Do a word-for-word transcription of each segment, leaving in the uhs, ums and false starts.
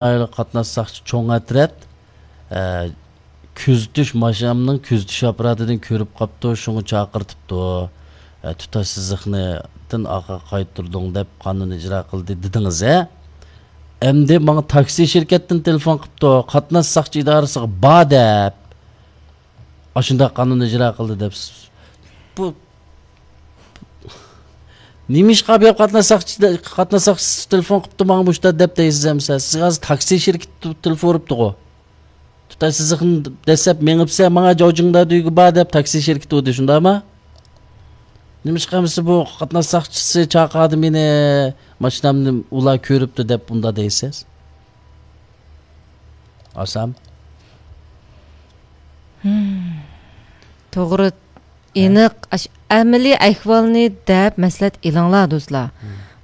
قاتناش ساقچى چوڭ ئەترەت، ئە، كۆزىتىش، ماشىنامنىڭ كۆزىتىش ئاپپاراتىدىن كۆرۈپ قاپتۇ، شۇڭا چاقىرتىپتۇ. ئە، تۇتاش سىزىقنىدىن ئارقىغا قايتۇردۇڭ دەپ قانۇن ئىجرا قىلدى دېدىڭىز ھە؟ ئەمدى ماڭا تاكسى شىركەتتىن تېلېفون قىپتۇ، قاتناش ساقچى ئىدارىسىغا بار دەپ. ئاشۇنداق قانۇن ئىجرا قىلدى دەپ. بۇ نېمىشقا بۇ قاتناش ساقچى، قاتناش ساقچىسى تېلېفون قىپتۇ ماڭا مۇشۇنداق دەپ دەيسىز ئەمسە؟ سىز ھازىر تاكسى شىركىتى تېلېفون ئۇرۇپتىغۇ. تۇتاش سىزىقنى دەسسەپ مېڭىپسە، ماڭا جاۋجىڭدادۈگە بار دەپ تاكسى شىركىتى ئۇردى، شۇنداقمۇ؟ نېمىشقا ئەمسە بۇ قاتناش ساقچىسى چاقىردى مېنى، ماشىنامنى ئۇلار كۆرۈپتۇ دەپ ئۇنداق دەيسىز؟ ئاسام. توغرا، ھە؟ ئېنىق، ئەمەلىي ئەھۋالنى دەپ مەسلىھەت ئېلىڭلار، دوستلار.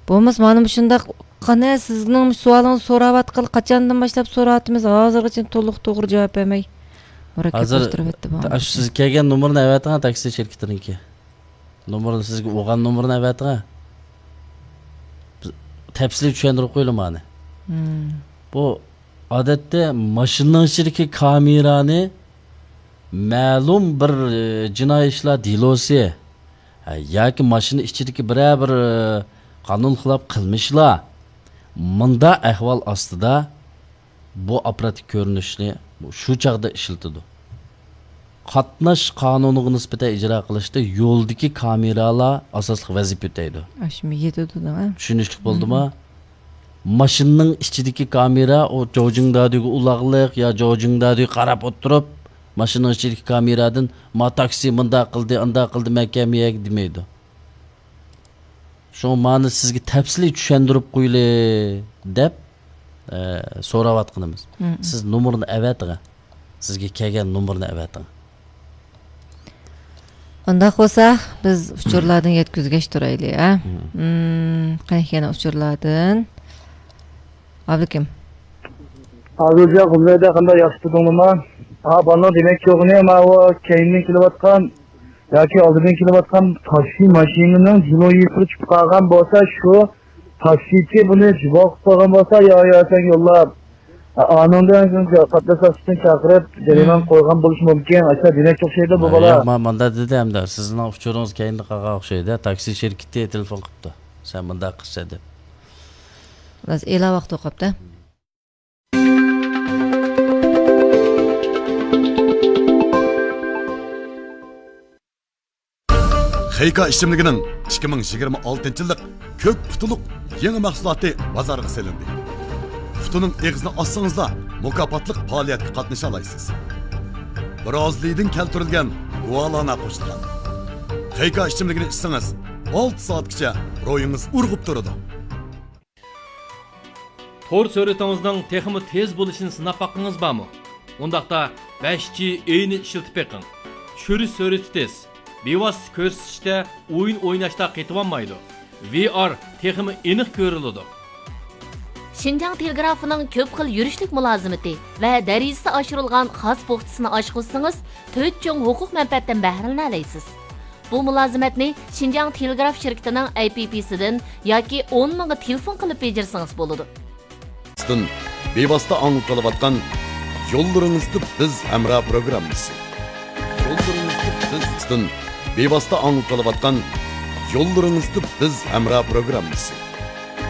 بولمىسا مانا مۇشۇنداق، قېنى سىزنىڭ سوئالىڭىزنى سوراۋاتقىلى، قاچاندىن باشلاپ سوراۋاتىمىز، ھازىرغىچە تولۇق توغرا جاۋاب بەرمەي مۇرەككەپلەشتۈرۈۋەتتى بۇ. ئاشۇ سىز كەلگەن نومۇرنى ئەۋەتىڭ، تاكسى شىركىتىنىڭكى. نومۇرنى، سىزگە ئۇرغان نومۇرنى ئەۋەتىڭە. بىز تەپسىلىي چۈشەندۈرۈپ قويىلى مانى. بۇ، ئادەتتە، ماشىنىنىڭ ئىچىدىكى كامېرانى مەلۇم بىر، ئى، جىنايى ئىشلار دېلوسى، ھە، ياكى ماشىنا ئىچىدىكى بىرەر بىر، ئى، قانۇن خىلاپ قىلمىشلار، مۇنداق ئەھۋال ئاستىدا بۇ ئاپپاراتتىكى كۆرۈنۈشنى شۇ چاغدا ئىشلىتىدۇ. قاتناش قانۇنىغا نىسبەتەن ئىجرا قىلىشتا يولدىكى كامېرالار ئاساسلىق ۋەزىپە ئۆتەيدۇ. ئاشۇمۇ يېتىدۇ دەڭ، ھە؟ چۈشىنىشلىك بولدىما؟ ماشىنىنىڭ ئىچىدىكى كامېرا، ئۇ جوجىڭدادىگە ئۇلاغلىق يا جوجىڭدادىگە قاراپ ئولتۇرۇپ، ماشىنىنىڭ ئىچىدىكى كامېرادىن، ما تاكسى مۇنداق قىلدى، ئانداق قىلدى، مەن كەلمىگەن دېمەيدۇ. شۇڭا مانى سىزگە تەپسىلىي چۈشەندۈرۈپ قويىلى دەپ، ئە، سوراۋاتقىنىمىز. سىز نومۇرنى ئەۋەتىڭە. سىزگە كەلگەن نومۇرنى ئەۋەتىڭ. ئۇنداق بولسا، بىز ئۇچۇرلاردىن يەتكۈزگەچ تۇرايلى، ھە؟ مم، قېنى يەنە ئۇچۇرلاردىن. ئابلىكىم. ھازىرجا غۇلجايدا قانداق ياخشى تۇردۇڭلىما؟ ھا، بالىنىڭ دېمەكچى بولغىنى، ماۋۇ كەينىدىن كېلىۋاتقان ياكى ئالدىدىن كېلىۋاتقان تاكسى ماشىنىنىڭ دېلو يىپىغا چۈشۈپ قالغان بولسا، شۇ تاكسىچى بۇنى جۇۋاق قىلىپ قويغان بولسا، يا، يا، سەن يوللاپ، ئانىڭدىن قاتناش ساقچىسىنى چاقىرىپ، جەرىمانە قويغان بولۇشى مۇمكىن. ئاشۇ دېمەكچى ئوخشايدۇ بۇ بالا. ياق، ما-، ماندا دېدى ھەمدە، سىزنىڭ ئۇچۇرىڭىز كەينىدە قالغان ئوخشايدۇ. تاكسى شىركىتى تېلېفون قىپتۇ، سەن مۇنداق قىلسا دەپ. بىراز ئېلا ۋاقىت قاپتۇ. خېيكا ئىچىملىكىنىڭ ئىككى مىڭ يىگىرمە ئالتىنچى يىللىق كۆك پۇتىلىق يېڭى مەھسۇلاتى بازارغا سېلىندى. پۇتىنىڭ ئېغىزىنى ئاچسىڭىزلا، مۇكاپاتلىق پائالىيەتكە قاتنىشالايسىز. برازىلىيىدىن كەلتۈرۈلگەن گۇالانا قوشۇلغان. خېيكا ئىچىملىكىنى ئىچسىڭىز، ئالتە سائەتكىچە روھىڭىز ئۇرغۇپ تۇرىدۇ. تور سۈرئىتىڭىزنىڭ تېخىمۇ تېز بولۇشىنى سىناپ باققىڭىز بارمۇ؟ ئۇنداقتا بەش جى ئېينى ئىشلىتىپ بېقىڭ. چۈشۈرۈش سۈرئىتى تېز، بىۋاسىتە كۆرسىتىشتە ئويۇن ئويناشتا قېتىۋالمايدۇ. ۋى ئار تېخىمۇ ئېنىق كۆرۈلىدۇ. شىنجاڭ تېلېگرافىنىڭ كۆپ خىل يۈرۈشلۈك مۇلازىمىتى ۋە دەرىجىسى ئاشۇرۇلغان خاس پوختىسىنى ئاچقۇزسىڭىز، تۆت چوڭ ھوقۇق مەنپەئەتتىن بەھرىلىنەلەيسىز. بۇ مۇلازىمەتنى شىنجاڭ تېلېگراف شىركىتىنىڭ ئەي پى پىسىدىن ياكى ئون مىڭغا تېلېفون قىلىپ بېجىرسىڭىز بولىدۇ. بىۋاسىتە ئاڭلىتىلىۋاتقان يوللىرىڭىزدا بىز ھەمراھ پروگراممىسى. يوللىرىڭىزدا بىز. بىۋاسىتە ئاڭلىتىلىۋاتقان يوللىرىڭىزدا بىز ھەمراھ پروگراممىسى.